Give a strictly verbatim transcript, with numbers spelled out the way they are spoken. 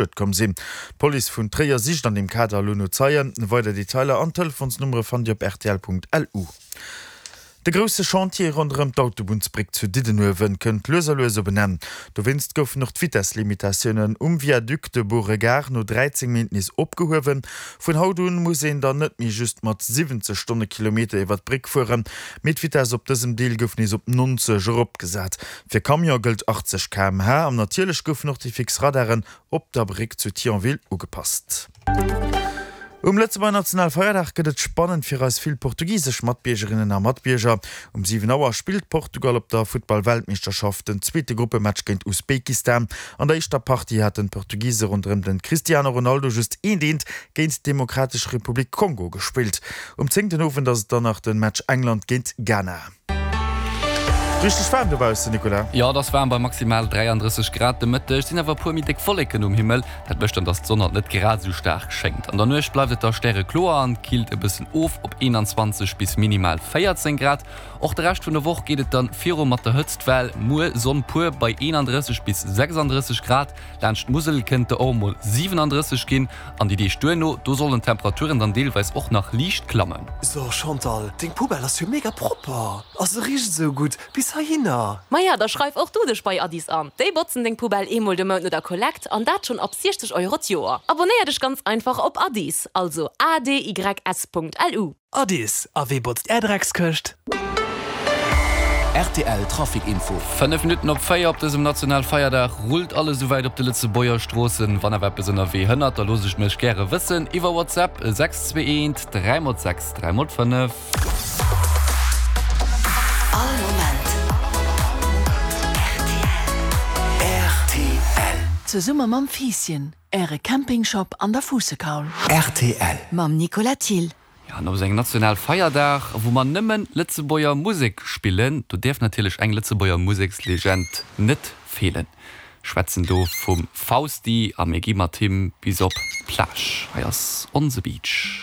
Schued komm sinn. D'Police vun Tréier sicht an deem Kader elo no Zeien. Weider Detailer an Telefonsnummere fannt Dir op rtl.lu. De grousse Chantier ronderëm d'Autobunnsbréck zu Diddenuewen kënnt lues a lues op en Enn. Dowéinst goufen och d'Vitesslimitatiounen um Viaduc de Beauregard no dräizéng Méint nees opgehuewen. Vun haut un muss een dann net méi just mat siwwenzeg Stonnekilometer iwwer d'Bréck fueren, mee d'Vitess op dësem Deel gouf nees op nonzeg eropgesat. Fir Camion gëllt achtzeg K M H an natierlech goufen och déi fix Radaren op der Bréck zu Thionville ugepasst. Um Lëtzebuerger Nationalfeierdag gëtt et spannend fir eis vill portugisesch Matbiergerinnen a Matbierger. Um siwen Auer spillt Portugal op der Futtball-Weltmeeschterschaft den zweete Gruppematch géint Usbekistan. An der éischter Partie haten d'Portugise ronderëm den Cristiano Ronaldo just eent eent géint d'Demokratesch Republik Kongo gespillt. Um zéng den Owend ass et dann nach den Match England géint Ghana. Richteg waarm dobaussen, Nicolas. Jo, et ass waarm bei maximal dräiandrësseg Grad de Mëtteg. Et sinn awer e puer méi déck Wolleken um Himmel, dat mécht dann, dass d'Sonn haut net grad esou staark schéngt. An der Nuecht bleift et da stärekloer an killt e bëssen of op eenanzwanzeg bis minimal véierzéng Grad. Och de Rescht vun der Woch geet et dann viru mat der Hëtztwell, muer Sonn pur bei eenandrësseg bis sechsandrësseg Grad, laanscht d'Musel kënnt der och emol siwenandrësseg ginn. An déi Deeg duerno, do sollen d'Temperaturen dann deelweis och nach liicht klammen. So Chantal, deng Poubelle ass jo mega propper a se richt esou gutt bis heihinner. Maja, da schreif och du dech bei Adys an. Déi botzen deng Poubelle eemol de Mount no der Kollekt an dat schonn ab siechzeg Euro d'Joer. Abonéier dech ganz einfach op Adys, also A D Y S Punkt L U. Adys, a wee botzt är Dreckskëscht? Rtl Trafic Info. Fënnef Minutten op véier op dësem Nationalfeierdag rullt alles esouwäit op de Lëtzebuerger Stroossen. Wann awer eppes ënnerwee hënnert, da looss ech mech gäre wëssen iwwer WhatsApp, sechs zwee eent dräi mol sechs dräi mol fënnef. All Moment rtl. Rtl. Zesumme mam Fiisschen, Äre Campingshop an der Fuussekaul. Rtl. Mam Nicolas Thill. Jo, an op esou engem Nationalfeierdag, wou mer nëmmen Lëtzebuerger Musek spillen, do däerf natierlech eng Lëtzebuerger Musekslegend net feelen. Schwätzen do vum Fausti a mir gi mat him bis op d'Plage. Hei ass On the Beach.